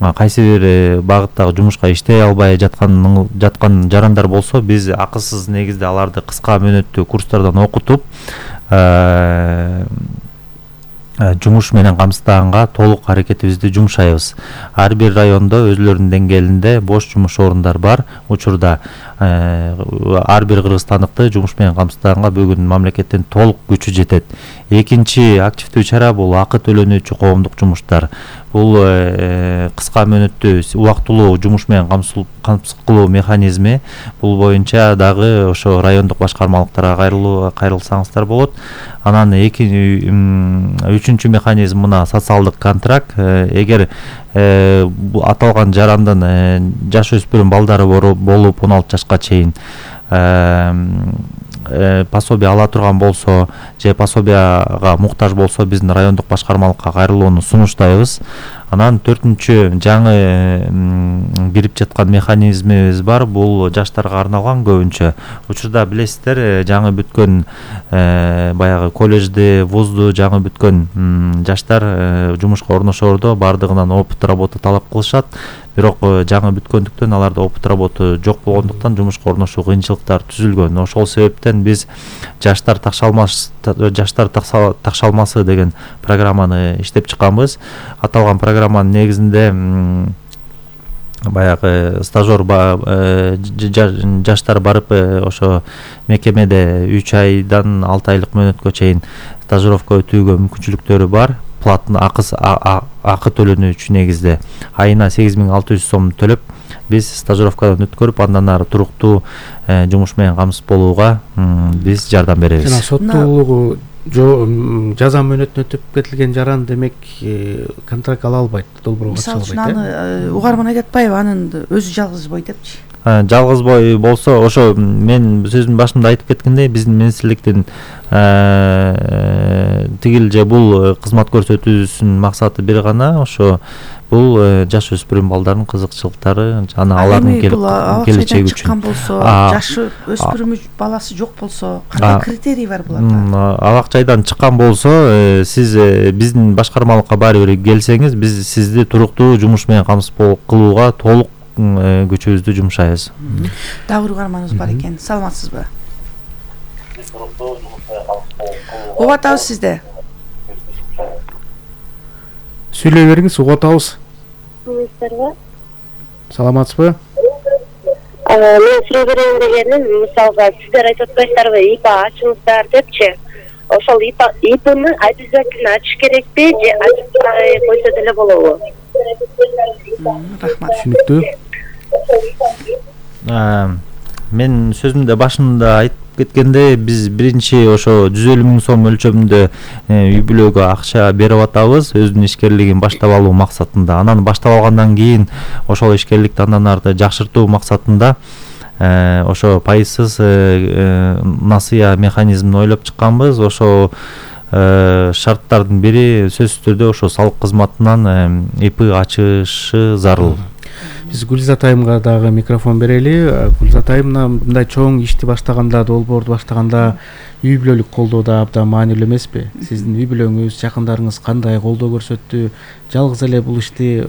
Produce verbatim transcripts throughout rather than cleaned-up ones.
кайсы бир багыттагы жумушка иштей албай жаткан жаткан жарандар болсо, биз акысыз негизде аларды кыска мөөнөттүү курстардан окутуп жумуш менен камсыздаганга толук аракетибизди жумшайбыз. Ар бир райондо өзлөрүнүн деңгээлинде бош жумуш орундар бар. Учурда ар бир кыргызстандыкты жумуш менен камсыздаганга бүгүн мамлекеттин толук күчү жетет. Экинчи активдүү чара бул акы төлөнүүчү коомдук жумуштар. Бул кыска мөөнөттүү убактылуу жумуш менен камсыз кылуу механизми. Бул боюнча дагы ошо райондук башкармалыктарга кайрылуу кайрылсаңыздар болот. Анан үчүнчү механизм мына социалдык контракт. Эгер аталган жарандын жаш өспүрүм балдары болуп он алты жашка чейин пособие ала турган болсо же пособияга муктаж болсо, биздин райондук башкармалыкка кайрылууну сунуштайбыз. Анан төртүнчү жаңы кирип жаткан механизмибиз бар. Бул жаштарга арналган көбүнчө. Учурда билесиздер, жаңы бүткөн баягы колледжди, вузду жаңы бүткөн жаштар жумушка орношоордо бардыгынан опыт работа талап кылышат. Бирок жаңы бүткөндүктөн аларда опыт работа жок болгондуктан жумушка орношуу кыйынчылыктар түзүлгөн. Ошол себептен биз жаштар такшалмасы жаштар такшалмасы деген программаны иштеп чыкканбыз. Аталган программанын негизинде баягы стажер жаштар барып ошо мекемеде үч айдан алты айлык мөөнөткө чейин стажировка өтүүгө мүмкүнчүлүктөрү бар. Платный акы төлөнүүчү негизде айына сегиз миң алты жүз сом төлөп, биз стажировкадан өткөрүп, андан ары туруктуу жумуш менен камсыз болууга биз жардам беребиз. Жана соттуулугу жаза мөөнөтүн өтүп кетилген жаран демек контракт ала албайт, долбоорго катыша албайт. Мисалы үчүн аны угарман айтып атпайбы, анын өзү жалгыз бой депчи. Жалгыз бой болсо, ошо мен сөзүмдүн башында айтып кеткендей, биздин министрликтин тигил же бул кызмат көрсөтүүсүнүн максаты бир гана, ошо бул жаш өспүрүм балдардын кызыкчылыктары жана алардын келечеги үчүн. Чыккан болсо, жашы өспүрүм баласы жок болсо, кандай критерий бар буларда? Алак жайдан чыккан болсо, сиз биздин башкармалыкка баары бир келсеңиз, биз сизди туруктуу жумуш менен камсыз кылууга толук күчүбүздү жумшайбыз. Дагы угарманыбыз бар экен. Саламатсызбы? Угуп атабыз сизде. Сүйлөй бериңиз, угуп атабыз. Саламатсызбы? Мен суроо берейин дегеним, мисалга сиздер айтып атпайсыздарбы, ИП ачыңыздар депчи. Ошол ИПны обязательно ачыш керекпи же ачпай койсо деле болобу? Рахмат. Түшүнүктүү. Мен сөзүмдө башында айтып кеткенде, биз биринчи ошо жүз элүү миң сом өлчөмүндө үй бүлөгө акча берип атабыз, өзүнүн ишкерлигин баштап алуу максатында. Анан баштап алгандан кийин ошол ишкерликти андан ары жакшыртуу максатында ошо пайызсыз насыя механизмин ойлоп чыкканбыз. Ошо шарттардын бири сөзсүз түрдө ошо салык кызматынан ИП ачышы зарыл. Биз Гүлзат айымга дагы микрофон берели. Гүлзат айымна мындай чоң ишти баштаганда, долбоорду баштаганда үй бүлөлүк колдоо да абдан маанилүү эмеспи? Сиздин үй бүлөңүз, жакындарыңыз кандай колдоо көрсөттү? Жалгыз эле бул ишти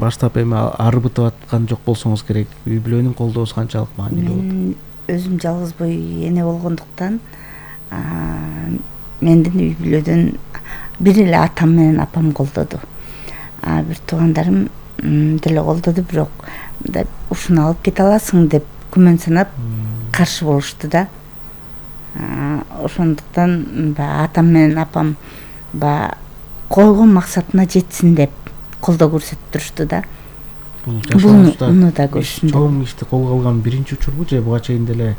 баштап эми арбытып аткан жок болсоңуз керек. Үй бүлөнүн колдоосу канчалык маанилүү болот? Мен өзүм жалгыз бой эне болгондуктан, мендин үй бүлөдөн бир эле атам менен апам колдоду. Бир туугандарым деле колдоду, бирок ушуну алып кете аласың деп күмөн санап каршы болушту да. Ошондуктан атам менен апам койгон максатына жетсин деп колдоо көрсөтүп турушту да. Буну да көрсүн. Чоң ишти колго алган биринчи учурбу же буга чейин деле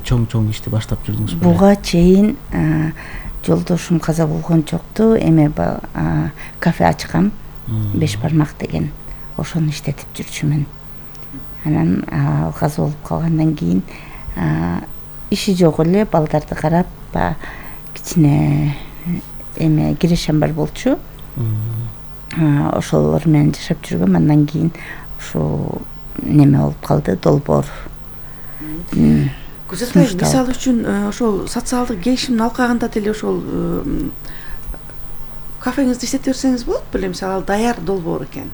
чоң-чоң ишти баштап жүрдүңүзбү? Буга чейин жолдошум каза болгончокту эме кафе ачкам, беш бармак деген, ошону иштетип жүрчүмүн. Анан ал каза болуп калгандан кийин иши жок эле, балдарды карап, кичине эме кирешем бар болчу. Ошолор менен жашап жүргөм. Андан кийин ошо неме болуп калды, долбоор. Күзөтөй, мисалы үчүн ошол социалдык келишимдин алкагында деле ошол кафеңизди иштете берсеңиз болот беле? Мисалы даяр долбоор экен.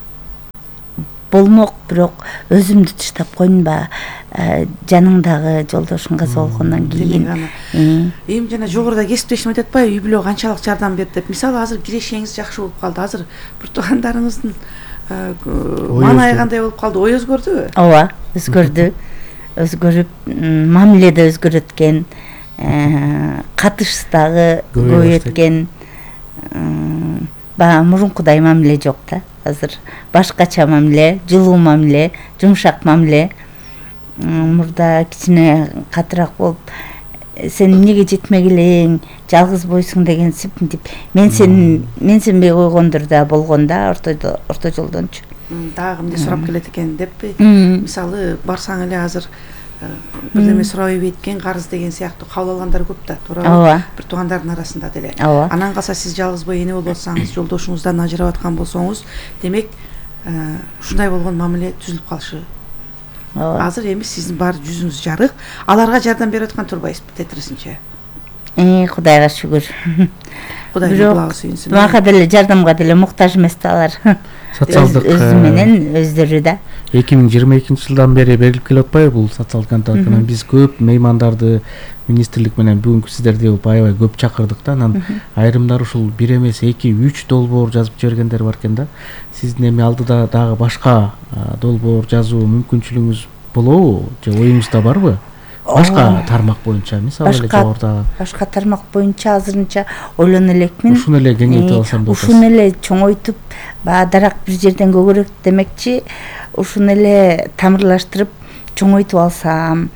болмок, бирок өзүмдү таштап койнуба, жаныңдагы жолдошуң каза болгондон кийин. Эми жана жогоруда кесиптешим айтып атпайбы, үй бүлө канчалык жардам берди деп. Мисалы азыр кирешеңиз жакшы болуп калды. Азыр бир туугандарыңыздын маанайы кандай болуп калды? Ой өзгөрдүбү? Ооба, өзгөрдү. Өзгөрүп, мамиле да өзгөрөт экен. Катыш дагы көбөйөт экен. Баягы мурункудай мамиле жок да. Азыр башкача мамиле, жылуу мамиле, жумшак мамиле. Мурда кичине катыраак болуп, сен эмнеге жетмек элең, жалгыз бойсуң деген сипинтип, мен сен мен сенбей койгондур да болгон да, орто орто жолдончу. Дагы эмне сурап келет экен деппи? Мисалы барсаң эле азыр бирдеме сурап ийбейт экен, карыз деген сыяктуу кабыл алгандар көп да, туурабы? Бир туугандардын арасында деле. Анан калса сиз жалгыз бой эне болуп атсаңыз, жолдошуңуздан ажырап аткан болсоңуз, демек ушундай болгон мамиле түзүлүп калышы. Азыр эми сиздин бар жүзүңүз жарык. Аларга жардам берип аткан турбайсызбы тетресинче? Э, Кудайга шүгүр. Кудайдын кулагы сүйүнсүн. Мага деле жардамга деле муктаж эмес да алар. Социалдык өзү менен өздөрү да. эки миң жыйырма экинчи жылдан бери берилип келип атпайбы бул социалдык контракт? Анан биз көп меймандарды министрлик менен бүгүнкү сиздерди аябай көп чакырдык да. Анан айрымдар ушул бир эмес эки үч долбоор жазып жибергендер бар экен да. Сиздин эми алдыда дагы башка долбоор жазуу мүмкүнчүлүгүңүз болобу же оюңузда барбы? Башка тармак боюнча, мисалы эле жогоруда. Башка тармак боюнча азырынча ойлоно элекмин. Ушуну эле кеңейтип алсам деп атасыз. Ушуну эле чоңойтуп, баягы дарак бир жерден көгөрөк демекчи, ушуну эле тамырлаштырып чоңойтуп алсам,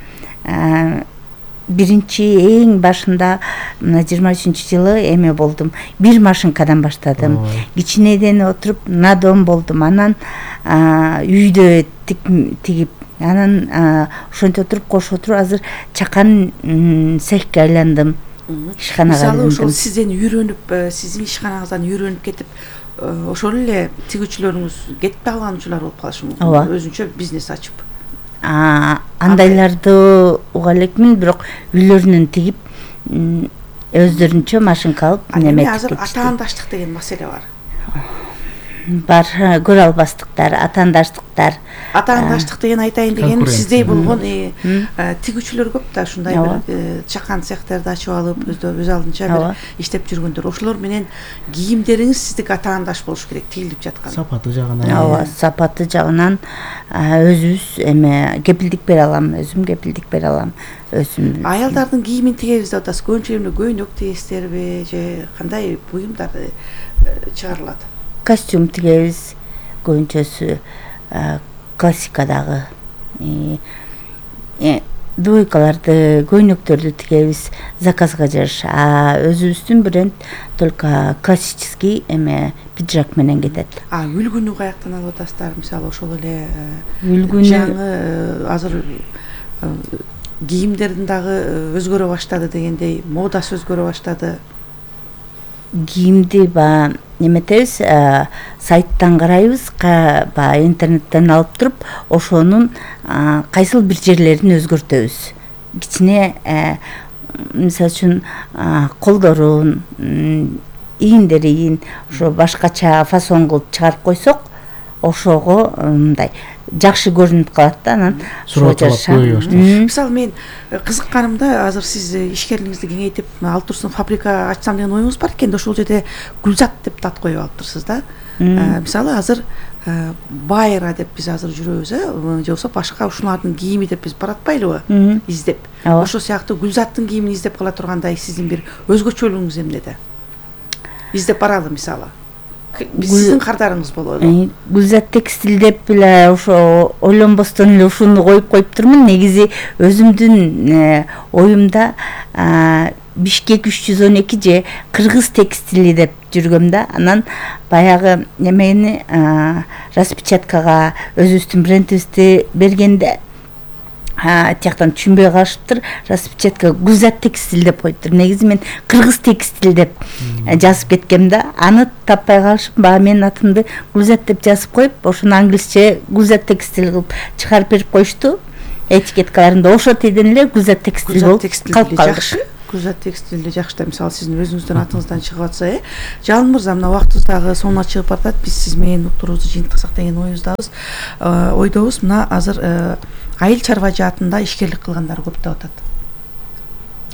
биринчи эң башында мына жыйырма үчүнчү жылы эме болдум. Бир машинкадан баштадым. Кичинеден отуруп надон болдум. Анан үйдө тигип, анан ошентип отуруп кошо отуруп азыр чакан цехке айландым. Ишканага айландым. Мисалы ошол сизден үйрөнүп, сиздин ишканаңыздан үйрөнүп кетип, ошол эле тигүүчүлөрүңүз кетип калган учурлар болуп калышы мүмкүн. Өзүнчө бизнес ачып. Андайларды уга элекмин, бирок үйлөрүнөн тигип, өздөрүнчө машинка алып неметип кетишти. Азыр атаандаштык деген маселе бар. Бар, көрө албастыктар, атаандаштыктар. Атаандаштык деген айтайын дегеним, сиздей болгон тигүүчүлөр көп да, ушундай бир чакан цехтерди ачып алып, өз алдынча бир иштеп жүргөндөр. Ошолор менен кийимдериңиз сиздики атаандаш болуш керек, тигилип жаткан. Сапаты жагынан. Ооба, сапаты жагынан өзүбүз эме кепилдик бере алам, өзүм кепилдик бере алам. Өзүм. Аялдардын кийимин тигебиз деп атасыз. Көбүнчө эмне көйнөк тигесиздерби же кандай буюмдар чыгарылат? Костюм тигебиз, көбүнчөсү классикадагы двойкаларды, көйнөктөрдү тигебиз заказга жараша. А өзүбүздүн бренд только классический эме пиджак менен кетет. А үлгүнү каяктан алып атасыздар? Мисалы ошол эле үлгүнү жаңы азыр кийимдердин дагы өзгөрө баштады дегендей, модасы өзгөрө баштады. Кийимди ба неметебиз, сайттан карайбыз, баягы интернеттен алып туруп, ошонун кайсыл бир жерлерин өзгөртөбүз. Кичине мисалы үчүн колдорун, ийиндерин ошо башкача фасон кылып чыгарып койсок, ошого мындай жакшы көрүнүп калат да, анан суроо жашап. Мисалы мен кызыкканымда, азыр сиз ишкерлигиңизди кеңейтип, ал турсун фабрика ачсам деген оюңуз бар экен, ошол жерде Гүлзат деп ат коюп алыптырсыз да. Мисалы азыр Байра деп биз азыр жүрөбүз, э, же болбосо башка ушулардын кийими деп биз баратпайлыбы издеп. Ошол сыяктуу Гүлзаттын кийимин издеп кала тургандай сиздин бир өзгөчөлүгүңүз эмнеде? Издеп баралы мисалы. Сиздин кардарыңыз болобу? Гүлзат текстиль деп эле ошо ойлонбостон эле ушуну коюп коюп турмун. Негизи өзүмдүн оюмда Бишкек үч жүз он эки же кыргыз текстили деп жүргөм да. Анан баягы немени распечаткага өзүбүздүн брендибизди бергенде тияктан түшүнбөй калышыптыр. Распечатка Гүлзат текстиль деп коюптур. Негизи мен кыргыз текстиль деп жазып кеткем да. Аны таппай калышып, баягы менин атымды Гүлзат деп жазып коюп, ошону англисче Гүлзат текстиль кылып чыгарып берип коюшту. Этикеткаларында ошо тиеден эле Гүлзат текстиль болуп калып калды. Гүлзат текстилде жакшы да, мисалы сиздин өзүңүздүн атыңыздан чыгып атса, э Жалын мырза, мына убактыбыз дагы соңуна чыгып баратат. Биз сиз менен уктуруубузду жыйынтыксак деген оюбуздабыз. Ойдобуз мына азыр айыл чарба жаатында ишкерлик кылгандар көп деп атат.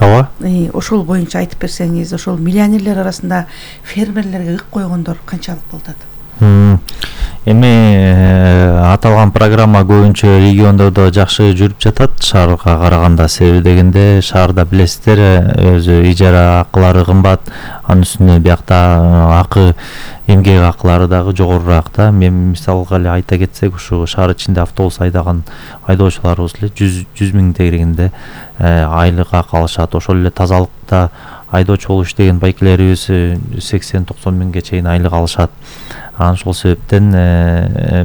Ооба. Ошол боюнча айтып берсеңиз, ошол миллионерлер арасында фермерлерге ык койгондор канчалык болуп атат? Эми аталган программа көбүнчө региондордо жакшы жүрүп жатат, шаарга караганда. Себеби дегенде шаарда билесиздер, өзү ижара акылары кымбат, анын үстүнө биякта акы, эмгек акылары дагы жогорураак да. Мен мисалга эле айта кетсек, ушу шаар ичинде автобус айдаган айдоочуларыбыз эле жүз миң тегерегинде айлык акы алышат. Ошол эле тазалыкта айдоочу болуп иштеген байкелерибиз сексен токсон миңге чейин айлык алышат. Анан ошол себептен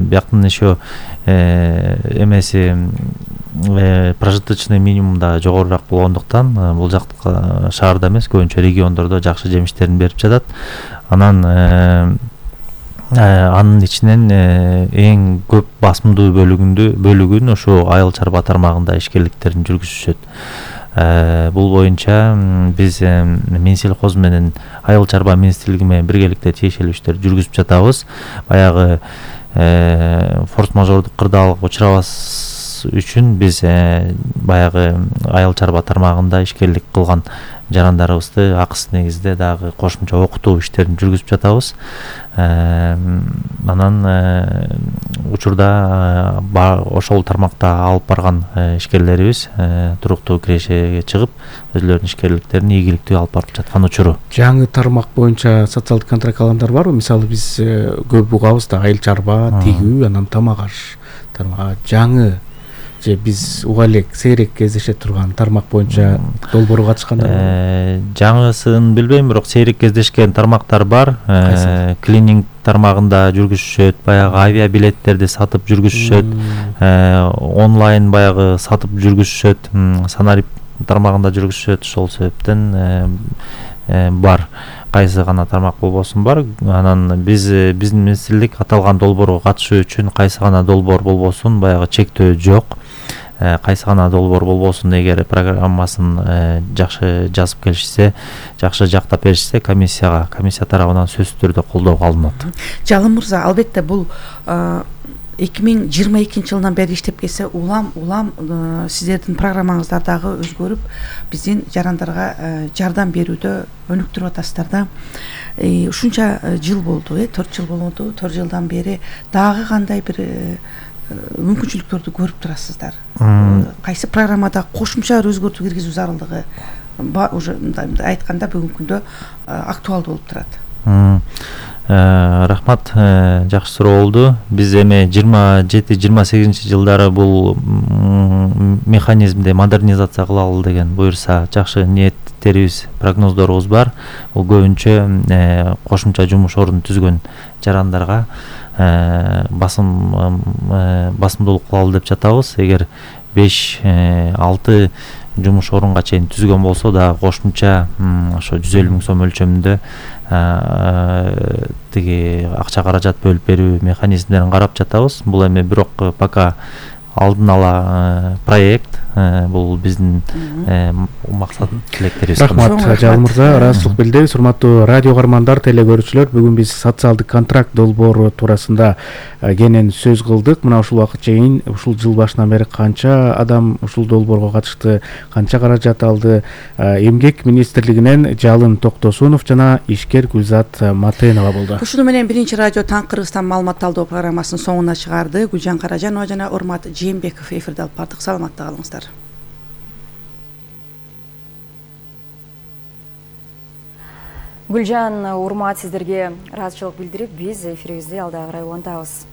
бияктын еще эмеси прожиточный минимум да жогорураак болгондуктан бул жакта шаарда эмес, көбүнчө региондордо жакшы жемиштерин берип жатат. Анан анын ичинен эң көп басымдуу бөлүгүндү бөлүгүн ошо айыл чарба тармагында ишкерликтерин жүргүзүшөт. Бул боюнча биз Минсельхоз менен айыл чарба министрлиги менен биргеликте тиешелүү иштерди жүргүзүп жатабыз. Баягы форс-мажордук кырдаалга учурабас үчүн биз баягы айыл чарба тармагында ишкерлик кылган жарандарыбызды акысыз негизде дагы кошумча окутуу иштерин жүргүзүп жатабыз. Анан учурда ошол тармакта алып барган ишкерлерибиз туруктуу кирешеге чыгып, өзлөрүнүн ишкерликтерин ийгиликтүү алып барып жаткан учуру. Жаңы тармак боюнча социалдык контракт алгандар барбы? Мисалы биз көп угабыз да, айыл чарба, тигүү, анан тамак аш тармагы. Жаңы же биз уга элек сейрек кездеше турган тармак боюнча долбоорго катышкандар бар? Жаңысын билбейм, бирок сейрек кездешкен тармактар бар. Клининг тармагында жүргүзүшөт, баягы авиабилеттерди сатып жүргүзүшөт, онлайн баягы сатып жүргүзүшөт, санарип тармагында жүргүзүшөт. Ошол себептен бар. Кайсы гана тармак болбосун бар. Анан биз биздин министрлик аталган долбоорго катышуу үчүн кайсы гана долбоор болбосун баягы чектөө жок. Кайсы гана долбоор болбосун, эгер программасын жакшы жазып келишсе, жакшы жактап беришсе, комиссияга, комиссия тарабынан сөзсүз түрдө колдоого алынат. Жалын мырза, албетте бул эки миң жыйырма экинчи жылдан бери иштеп келсе, улам улам сиздердин программаңыздар дагы өзгөрүп, биздин жарандарга жардам берүүдө өнүктүрүп атасыздар да. Ушунча жыл болду, э төрт жыл болду. төрт жылдан бери дагы кандай бир мүмкүнчүлүктөрдү көрүп турасыздар? Кайсы программада кошумча өзгөртүү киргизүү зарылдыгы уже айтканда бүгүнкү күндө актуалдуу болуп турат? Рахмат, жакшы суроо болду. Биз эми жыйырма жети жыйырма сегизинчи жылдары бул механизмди модернизация кылалы деген буюрса жакшы ниеттерибиз, прогноздорубуз бар. Бул көбүнчө кошумча жумуш ордун түзгөн жарандарга басым басымдуулук кылалы деп жатабыз. Эгер беш алты жумуш орунга чейин түзгөн болсо да кошумча ошо жүз элүү миң сом өлчөмүндө тиги акча каражат бөлүп берүү механизмдерин карап жатабыз. Бул эми бирок пока алдын ала проект, бул биздин максат тилектерибиз. Рахмат, Жалын мырза, ыраазычылык билдиребиз. Урматтуу радио каармандар, теле-көрүүчүлөр, бүгүн биз социалдык контракт долбоору туурасында кенен сөз кылдык. Мына ушул убакыт чейин, ушул жыл башынан бери канча адам ушул долбоорго катышты, канча каражат алды? Эмгек министрлигинен Жалын Токтосунов жана ишкер Гүлзат Матенова болду. Ушуну менен биринчи радио Таң Кыргызстан маалымат талдоо программасынын соңуна чыгарды. Гүлжан Каражанова жана Урмат Жээнбеков эфирде алып бардык. Саламатта калыңыздар. Гүлжан, урмат, сиздерге ыраазычылык билдирип, биз эфирибизди алдагы карай улантабыз.